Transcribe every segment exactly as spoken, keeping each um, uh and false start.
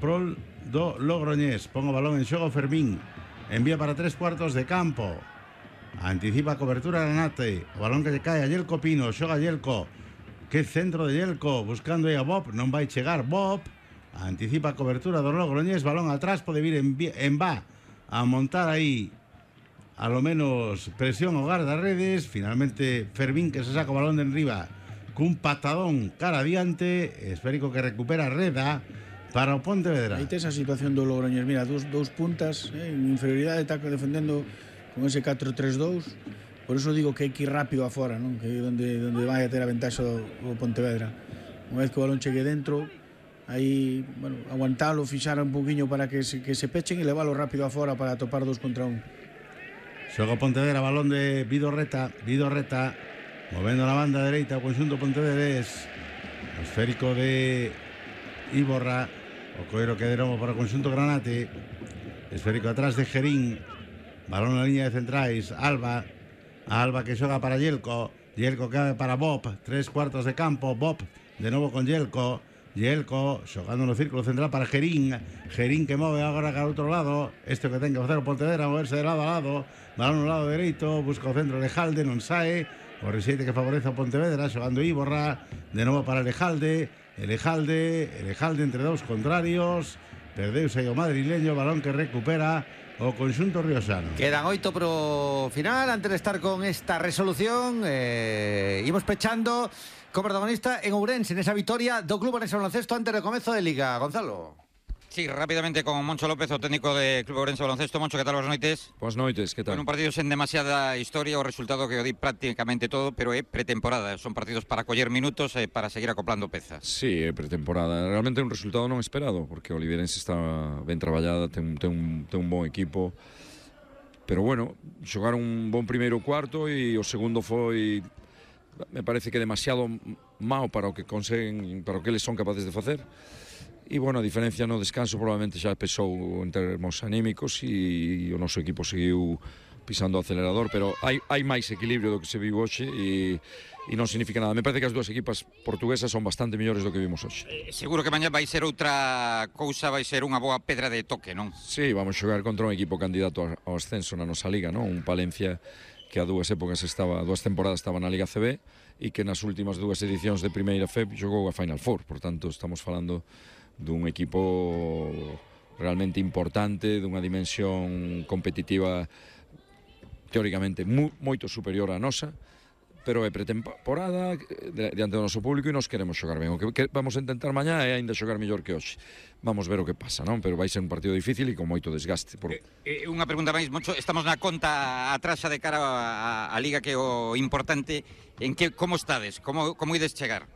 prol do Logroñés. Pon o balón en xogo Fermín. Envía para tres cuartos de campo. Anticipa a cobertura Granate. O balón que lle cae a Yelko Pino. Xoga Yelko. Que centro de Yelko. Buscando aí a Bob. Non vai chegar Bob. Anticipa a cobertura do Logroñés. Balón atrás. Pode vir en, en va a montar aí a lo menos presión ao guardarredes. Finalmente Fermín que se saca o balón de enriba cun patadón cara adiante. Esférico que recupera Reda para o Pontevedra. Aí tes a situación do Logroñés. Mira, dos, dos puntas eh, en inferioridade, está defendendo con ese catro tres dous. Por eso digo que hai que ir rápido afora, non? Que é onde, onde vai a ter a ventaxa do, do Pontevedra. Unha vez que o balón chegue dentro, aí, bueno, aguantalo, fixar un poquinho para que se, que se pechen e leválo rápido afora para topar dos contra un. Xoga Pontevedra, balón de Vidorreta. Vidorreta movendo la banda dereita o conxunto pontevedrés. Esférico de Iborra. O coiro que de novo para o conxunto Granate. Esférico atrás de Gerín. Balón na liña de centrais. Alba. Alba que xoga para Yelko. Yelko que abre para Bob. Tres cuartos de campo. Bob de novo con Yelko. Yelko xogando no círculo central para Gerín. Gerín que move agora cara ao outro lado. Este que ten que facer o Pontevedra, moverse de lado a lado. Balón no lado dereito. Busca o centro de Lejalde. Non sae. O rexeite que favorece a Pontevedra. Xogando Iborra. De novo para Lejalde. Elejalde, Elejalde entre dous contrarios. Perdeuse aí o madrileño. Balón que recupera o conxunto riosano. Quedan oito pro final. Antes de estar con esta resolución, eh, imos pechando co protagonista en Ourense, nesa victoria do Club Ourense Baloncesto antes do comezo de Liga. Gonzalo. Sí, rápidamente con Moncho López, o técnico de Club Ourense Baloncesto. Moncho, que tal? Boas noites. Boas noites, que tal? En un partido sen demasiada historia, o resultado que o di prácticamente todo, pero é pretemporada. Son partidos para coller minutos e para seguir acoplando pezas. Sí, é pretemporada. Realmente é un resultado non esperado, porque o Oliveirense está ben traballada, ten, ten, un, ten un bon equipo. Pero bueno, xogaron un bon primeiro cuarto e o segundo foi, me parece que demasiado mau para o que conseguen, para o que eles son capaces de facer. E, bueno, a diferencia no descanso probablemente xa pesou en termos anímicos e o noso equipo seguiu pisando o acelerador, pero hai, hai máis equilibrio do que se viu hoxe e, e non significa nada. Me parece que as dúas equipas portuguesas son bastante mellores do que vimos hoxe. Eh, seguro que mañá vai ser outra cousa, vai ser unha boa pedra de toque, non? Sí, vamos xogar contra un equipo candidato ao ascenso na nosa liga, non? Un Palencia que a dúas épocas estaba, a dúas temporadas estaba na Liga C B e que nas últimas dúas edicións de Primeira F E P xogou a Final Four, por tanto estamos falando dun equipo realmente importante, dunha dimensión competitiva teóricamente mu, moito superior á nosa, pero é pretemporada diante do noso público e nos queremos xogar ben. O que, que vamos a intentar mañá é ainda xogar mellor que hoxe. Vamos ver o que pasa, non? Pero vai ser un partido difícil e con moito desgaste. Por... Eh, eh, unha pregunta máis, Moncho, estamos na conta atrasa de cara a, a Liga, que é o importante. En que, como estades? Como, como ides chegar?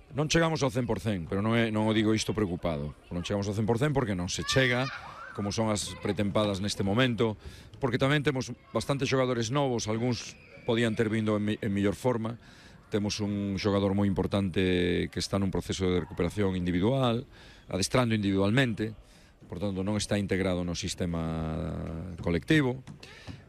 Non chegamos ao cen por cen, pero non, é, non o digo isto preocupado. Non chegamos ao cen por cen porque non se chega, como son as pretempadas neste momento, porque tamén temos bastantes xogadores novos, algúns podían ter vindo en, en mellor forma. Temos un xogador moi importante que está nun proceso de recuperación individual, adestrando individualmente, por tanto non está integrado no sistema colectivo.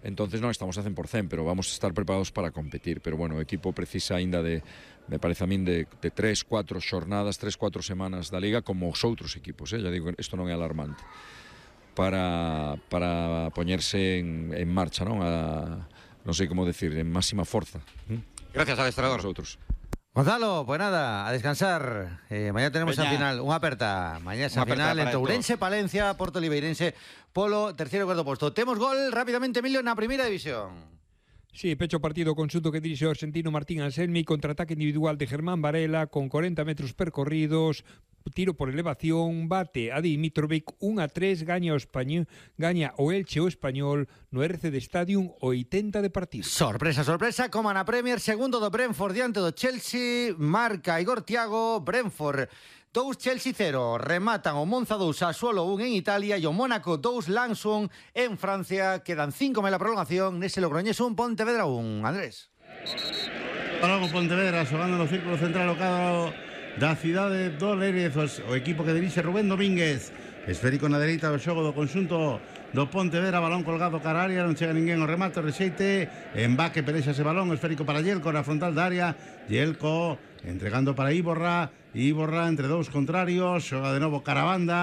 Entonces non estamos a cen por cen, pero vamos a estar preparados para competir. Pero bueno, o equipo precisa aínda de, me parece a min, de, de tres, cuatro xornadas, tres, cuatro semanas da Liga, como os outros equipos, eh? Ya digo, isto non é alarmante, para, para poñerse en, en marcha, non? A, non sei como decir, en máxima forza. ¿Mm? Gracias, adestrador. Nosotros. Gonzalo, pues nada, a descansar. Eh, mañana tenemos Peña. a final, unha aperta. Mañana esa Unha aperta final para entre Ourense, Palencia, Porto Oliveirense, polo terceiro e cuarto posto. Temos gol rápidamente, Emilio, na primeira división. Sí, pecho partido conxunto que dirixe o argentino Martín Anselmi, contraataque individual de Germán Varela con corenta metros percorridos, tiro por elevación, bate a Dimitrovic, un a tres, gaña o Español, gaña o Elche o Español no R C D Stadium, oitenta de partido. Sorpresa, sorpresa, como na Premier, segundo do Brentford diante do Chelsea, marca Igor Thiago, Brentford dous, Chelsea cero, rematan o Monza dous, Sassuolo un en Italia e o Mónaco dous, Lanson en Francia. Quedan cinco en la prolongación, nese Logroñés un, Pontevedra un. Andrés. Logo Pontevedra xogando no círculo central o cadro da cidade do Lérez, o equipo que dirixe Rubén Domínguez. Esférico na dereita do xogo do conxunto do Pontevedra, balón colgado cara área, non chega ninguén ao remate, o rexeite, embaque, perexa ese balón, esférico para Yelko na frontal da área, Yelko entregando para Iborra, Iborra entre dous contrarios, xoga de novo cara a banda,